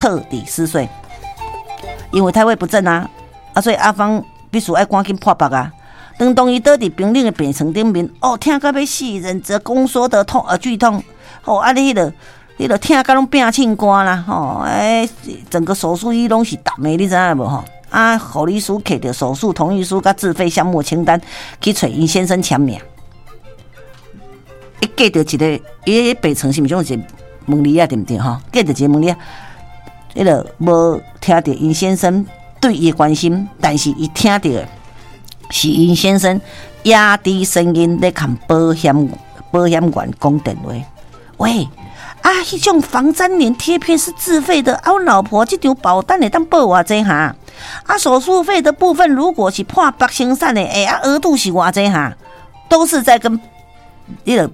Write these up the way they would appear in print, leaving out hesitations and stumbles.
徹底撕碎，因為胎位不正啊，啊，所以阿芳必須愛趕緊破腹啊。當伊倒佇冰冷的病床頂面，哦，疼甲欲死，忍著宮縮的痛呃劇痛，哦，啊你彼個疼甲攏拚凊肝啦，吼，欸，整個手術衣攏是澹的，你知影無吼？啊，護理師摕著手術同意書佮自費項目清單去揣𪜶先生簽名，伊隔著一个，伊彼病床是毋是有一个門簾仔對毋對吼？隔著一個門簾仔。彼个無聽著𪜶先生對伊的關心，但是伊聽著的是𪜶先生壓低聲音咧共保險員講電話。喂，啊，彼種防粘連貼片是自費的，啊，阮老婆這張保單會當報偌濟哈？啊，手術費的部分如果是破腹生產的，欸，啊，額度是偌濟哈？都是在跟彼个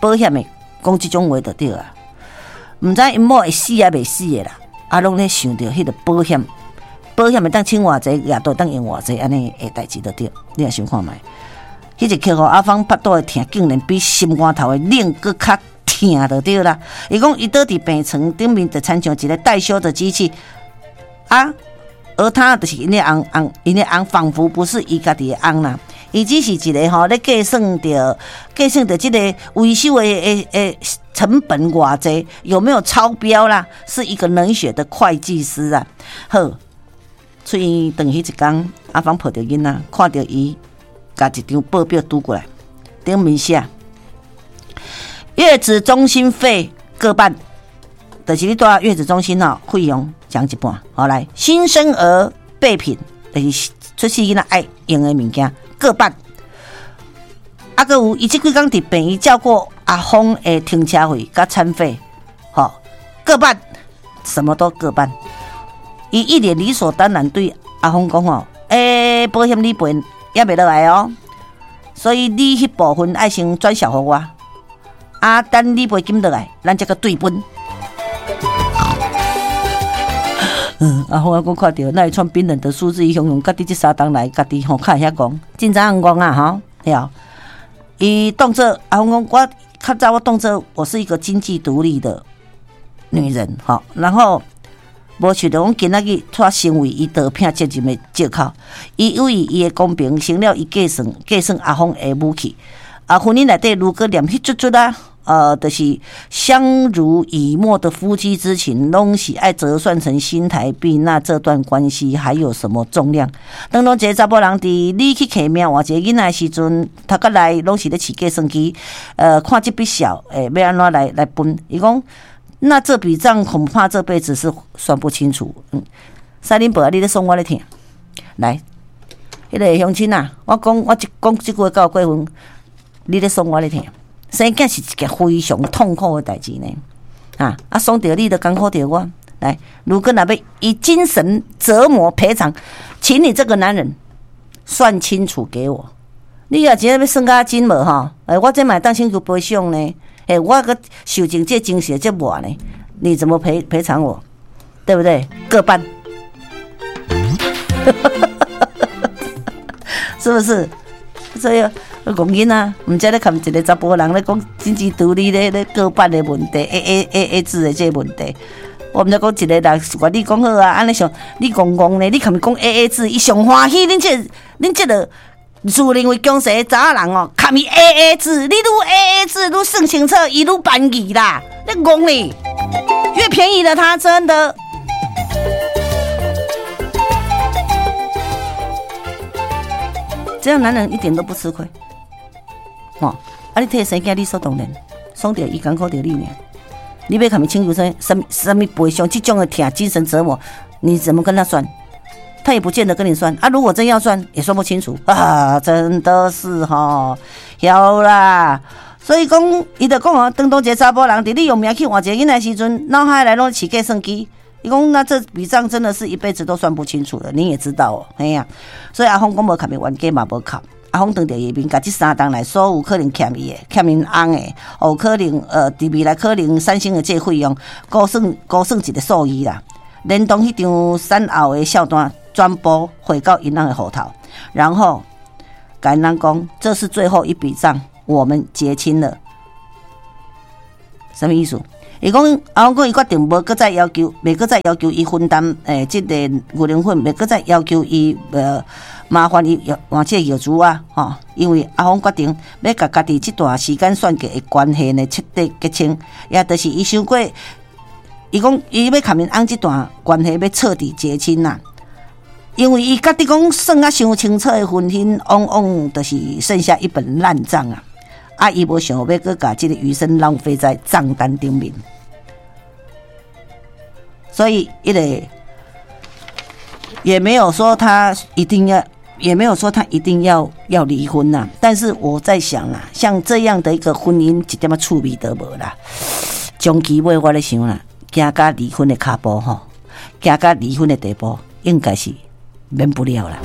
保險的講這種話就對啊。毋知𪜶某會死抑未死的啦。啊，攏咧想著彼个保險，保險會當請偌濟，額度當用偌濟，按呢的代誌就對。你也想看覓？彼一刻吼，阿芳腹肚的疼，竟然比心肝頭的冷閣較疼就對啦。伊講伊倒佇病床頂面，就親像一个待修的機器啊，而他就是𪜶的翁翁，𪜶的翁仿佛不是伊家己的翁啦，伊只是一个吼咧計算著這個維修的成本偌濟，有沒有超標啦？是一個冷血的會計師啊！好，出院轉去一工，阿芳抱著囡仔，看著伊共一張報表拄過來，頂面寫月子中心費各半，就是你蹛月子中心吼，費用講一半。好來，新生兒備品，就是出世囡仔愛用的物件各半。啊，閣有伊這幾工佇病院照顧阿芳的停車費佮餐費，吼，各半，什麼都各半。伊一臉理所當然對阿芳講吼，欸，保險理賠猶未落來哦，所以你彼部分愛先轉繳予我，啊，等理賠金落來，咱才閣對分。阿芳猶閣看著那一串冰冷的數字，伊形容家己這三冬來，家己吼較會曉戇，真知影戇啊吼，對。伊當做阿芳講，我較早我當做我是一個經濟獨立的女人，吼，然後無想著講今仔日煞成為伊逃避責任的借口。伊以為伊的公平成了伊計算阿芳的武器。啊，婚姻內底如果連彼卒卒啊，就是相濡以沫的夫妻之情，攏是愛折算成新台幣，那這段關係還有什麼重量？當一個查埔人佇你去揢命換一個囡仔的時陣，頭殼內攏是咧飼計算機，看這筆數，欸，欲按怎來分？伊講，那這筆帳恐怕這輩子是算不清楚。三林伯，你咧爽我咧疼。來，彼個鄉親啊，我講我一講這句話夠過分，你咧爽我咧疼。生囝是一件非常痛苦的代誌呢，啊，爽著你，就艱苦著我。來，如果若欲以精神折磨賠償，請你這個男人算清楚給我。你若真正欲算甲真無吼？欸，我這嘛會當請求賠償呢。欸，我閣受盡這精神折磨呢，你怎麼賠償我？對不對？各半，是不是？所以。戇囡仔，毋知咧含一个查埔人咧講經濟獨立咧各半的問題，A A 制的這個問題。我毋知講一個人，願你講好啊，按呢想你戇戇咧，你含伊講 A A 制，伊上歡喜。恁這個自認為強勢的查某人哦，含伊 A A 制，你愈 A A 制愈算清楚，伊愈便宜啦。你戇咧，越便宜了他真的。這樣男人一點都不吃虧。吼，啊！你替生囝理所當然，爽著伊艱苦著你爾。你欲共伊請求啥啥啥物賠償？這種的疼精神折磨，你怎麼跟他算？他也不見得跟你算啊。如果真要算，也算不清楚啊！真的是吼，曉啦。所以講，伊就講哦，當一個查埔人佇你用命去換一個囡仔時陣，腦海內攏飼計算機。伊講那這筆帳真的是一輩子都算不清楚的，你也知道哦，嘿啊。所以阿芳講無共伊冤家嘛無哭。阿芳當著伊面，共這三冬來所有可能欠伊的、欠𪜶翁的，哦，可能佇未來可能產生的這個費用，估算一個數字啦。連同彼張產後的數單全部匯到𪜶翁的戶頭，然後共𪜶翁講，這是最後一筆帳，我們結清了。什麼意思？伊講阿芳講伊決定無閣再要求，袂閣再要求伊分擔這个牛奶粉，袂閣再要求伊麻煩伊換這個藥珠啊，吼！因為阿芳決定欲共家己這段時間算計的關係呢徹底結清，也就是伊想過，伊講伊欲共𪜶翁這段關係欲徹底結清啦。因為伊家己講算啊傷清楚的婚姻，往往就是剩下一本爛賬啊！啊，伊無想欲閣共這个餘生浪費在賬單頂面，所以彼個也沒有說他一定要，也沒有說他一定要離婚吶。但是我在想啊，像這樣的一個婚姻，一點仔趣味都無啦。長期尾我咧想啦，行到離婚的跤步吼，行到離婚的地步，應該是免不了啦。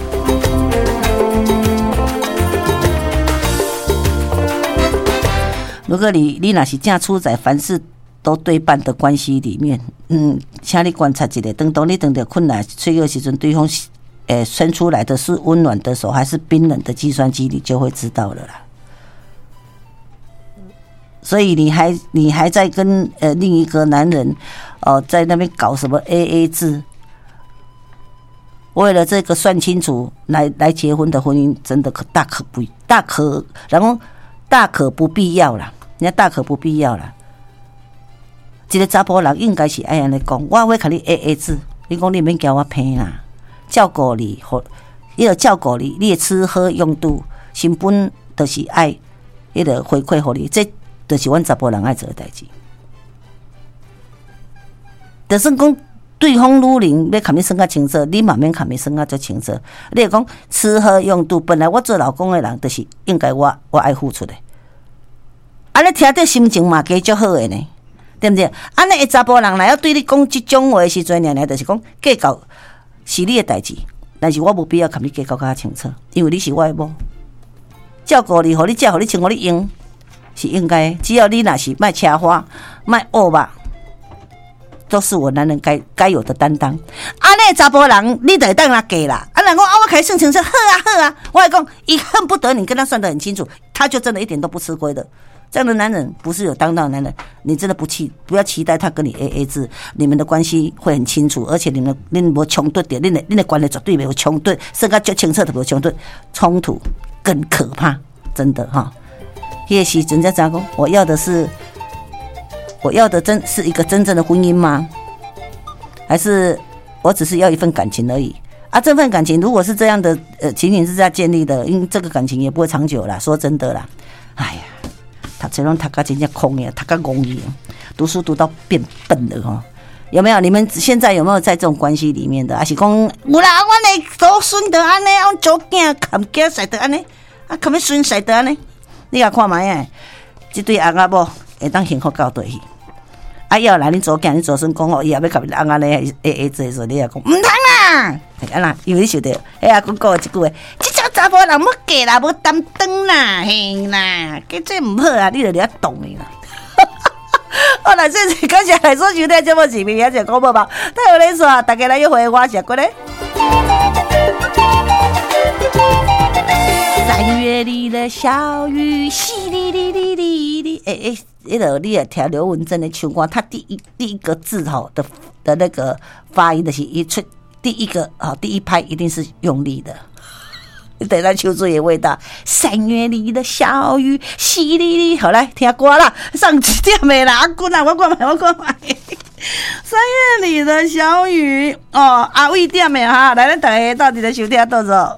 如果你若是正處在凡事都對半的關係裡面，請你觀察一下，當你當著困難脆弱時陣，對方伸出來的是溫暖的手，還是冰冷的計算機，你就會知道了啦。所以你還在跟另一個男人在那邊搞什麼 AA 制？為了這個算清楚來結婚的婚姻，真的可大可不大可，然後大可不必要啦，人家大可不必要啦。一個查埔人應該是愛按呢講，我欲共你 AA 制，你講你免驚我騙啦，照顧你，彼個照顧你，你的吃喝用度，成本就是愛彼個回饋予你，這就是阮查埔人愛做的代誌。就算講對方女人欲共你算較清楚，你嘛免共伊算較足清楚。你會講吃喝用度，本來我做老公的人，就是應該我愛付出的。按呢聽著心情嘛加足好的呢，對毋對？按呢查埔人若要對你講這種話的時陣，爾爾就是講計較是你的代誌，但是我無必要共你計較較清楚，因為你是我的某，照顧你，予你食，予你穿，予你用，是應該的。只要你若是莫奢華，莫惡吧。都是我男人該有的擔當。按呢查埔人，你就會當來計啦。啊，若講啊，我共伊算清楚，好啊好啊。我會講，伊恨不得你跟他算得很清楚，他就真的一點都不吃虧的。這樣的男人不是有擔當的男人，你真的不要期待他跟你 AA 制，你們的關係會很清楚，而且你們恁無衝突的，恁的關係絕對沒有衝突，算甲足清楚都無衝突，衝突更可怕，真的哈。彼個時陣才知影講，我要的是。我要的真是一個真正的婚姻嗎？還是我只是要一份感情而已？啊，這份感情如果是這樣的，情形是這樣建立的，因為這個感情也不會長久啦。說真的啦，哎呀，讀冊攏讀甲真正空的，讀甲戇去，讀書讀到變笨了吼。有沒有？你們現在有沒有在這種關係裡面的？還是講有啦，阮的祖孫就按呢，阮祖囝含囝婿就按呢，啊，含孫婿就按呢，你共看覓啊？這對翁仔某會當幸福到佗去？啊，要來恁祖囝、恁祖孫講哦，伊也欲共恁翁仔咧 AA 制的時候，你也講毋通啦，係按怎？因為你想著，彼阿公講的這句話，這種查埔人欲嫁啦，無擔當啦，嘿啦，計這毋好啊，你就咧動伊啦。好啦，謝謝，感謝來收聽節目，是明仔載廣播吧。太有意思啊！大家來約會，我是阿骨咧。三月裡的小雨，淅瀝瀝瀝瀝瀝。欸欸，彼个你若聽劉文正的唱歌，他第一個字吼的那個發音，就是一出第一個啊，第一拍一定是用力的。你等下秋水的味道。三月裡的小雨，淅瀝瀝。好來聽歌啦，上一點的啦，阿君啊，我看覓，我看覓。三月裡的小雨，哦，阿偉點的哈，來咱逐家鬥陣來收聽，多謝。